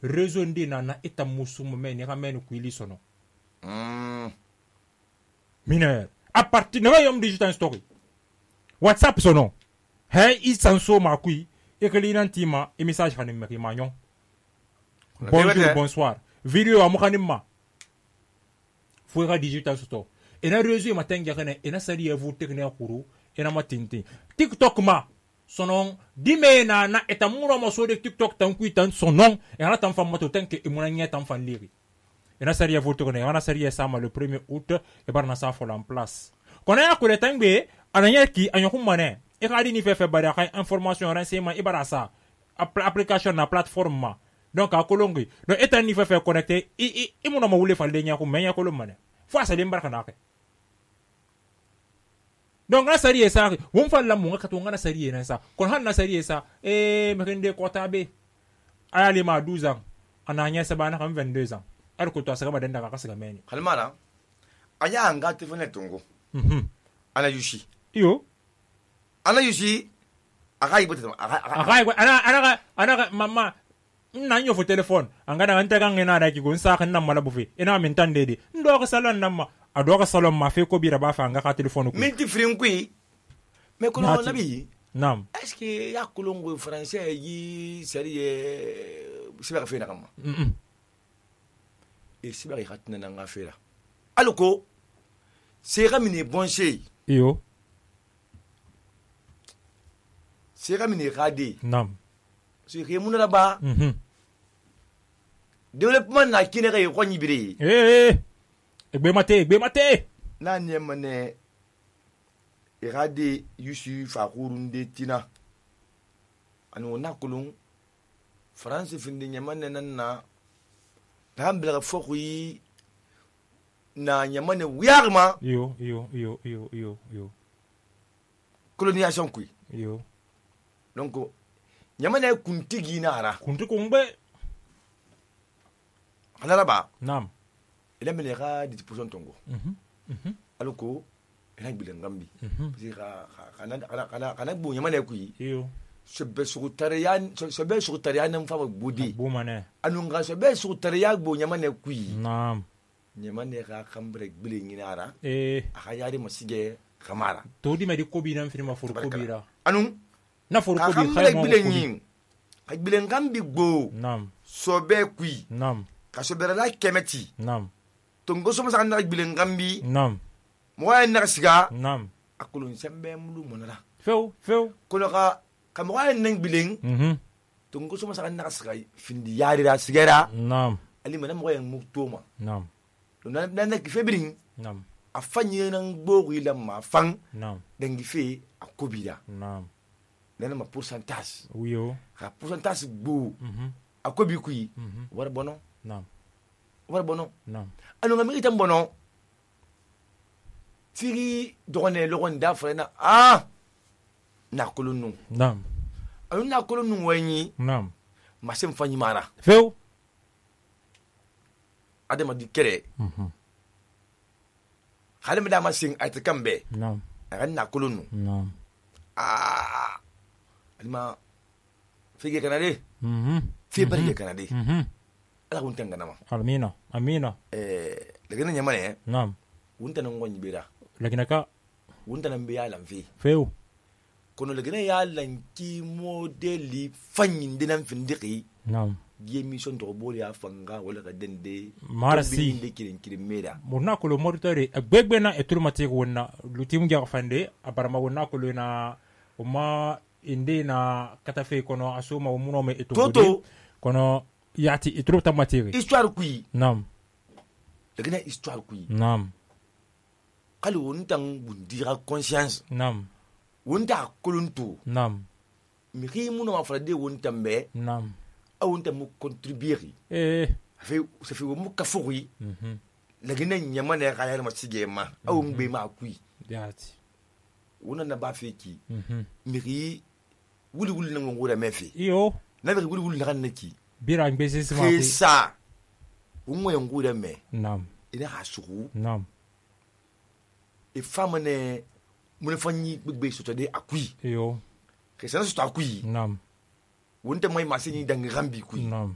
réseau ndi na eta musumu me ni ramène kuili sono mineur à partir de yom digital story WhatsApp sono hey isanso ma kui e que l'inantima e message hanim me manyon bonjour bonsoir video amukanimma fuera digital store et na réseau matin gane et na sali evu technique kuru et na matinti TikTok ma sonon dimena na etamuro mo so de TikTok tan kuitan sonon et na tan fam moto tan ke imunanya tan fan liri et na sali evu technique na sali sama le 1er août et bar na sa fol en place kona ko le tangbe ananya ki anyokum mané e ka di ni fe bari ka information renseignement e barasa application na plateforme ma donc a kolongi donc etan ni fe connecté i muna ma wule falde nya ko menya ko mané fo asa lim barka na ke donc na sari esa won falla mo ngaka to ngana sari ena sa kon han na sari esa me rende ko tabe ayali ma 12 ans ananya sa bana kam 22 ans ar ko to asa ba denda ka siga meni kalmara anya anga telefone tongo ana yushi iyo ana yushi aga ibote ana mama na nyo fo telephone angana anta kan ngena da ki gon sa kan nan mala bufe ina min tan dede ndo ka salon nan ma ado ka salon ma fe ko bira ba fa nga ka telephone ko minti frin kui me ko no nabi nam est-ce que ya kolongo français yi sérieux siba fe na kama e siba ri hatna na nga fe la aloko c'est ramine bon chez iyo c'est ramine radi nam c'est remuna la ba développement na kinere ko nyibiri egbe mate na nyemane irade yusu fakurunde tina anu nakulun france finde nyamane nanna tambla fokui na nyamane wiyarma yo colonisation kui yo donc nyamane kuntigi na ara kuntu kumbe halaraba nam ila melera di position tongo aloko ila bilengambi kana bu nyamane kui yo sebe sugutarian mfa budi bu mane anunga sebe sugutarian bu nyamane kui nam nyamane ka kambre bilenginara akayari masige kamara to di medi kobi nan firma for kobira anu na for kobi khaymo bilenyin ka bilengambi gbo nam sobe kui nam ka sobera la kemeti nam tongo so masa na bilengambi nam mo ay na siga nam akulun sembe mulu monala feu kono ka mo ay nang bileng tongo so masa na siga findi yari ra sigera nam ali mana mo ay muktoma nam na ki febring nam afanye nang bogi la ma fang nam dangi fe akobida nam nana ma pourcentage wiyo ka pourcentage gbo akobi kui war bono nam anu ngami itam bono firi dogone logon da frena na kolonu nam anu na kolonu wani nam masem fanyi mara feu adama di kere khalem da masing ayta kambe nam na kolonu nam alima fige kanade fi barke kanade ala kun tangana ma amina lagina nyamane nam wunta nan gonyi bira lagina ka wunta nan biya lamfi feu kono lagina ya lanki modeli fanyin dinan findiki nam gi mission to boli afanga wala ka dende marasi inde kirin meda murna ko lo moritori agbegbe na eturmati ko wonna lutim ga fande abarama wonna ko na uma inde na katafe kono asuma umuno me etugo kono yati itrupta materi histoire kui nam lagina histoire kui nam kali wontan bundira conscience nam wonta kolonto nam mi ri muno ma frade wontan be nam awonta mu contribuer ça fait mu kafuri lagina nyamane kayar ma sigema awon be ma kui yati wona na ba feki mi ri wuli na ngora mefi iyo na bi wuli na kanaki bira ngbe sima ku sa umwe ngura me nam ina hasuku nam e famane mun fanyi gbegbe sotode akui iyo ke sana soto akui nam wonte moy masini dangi rambi kui nam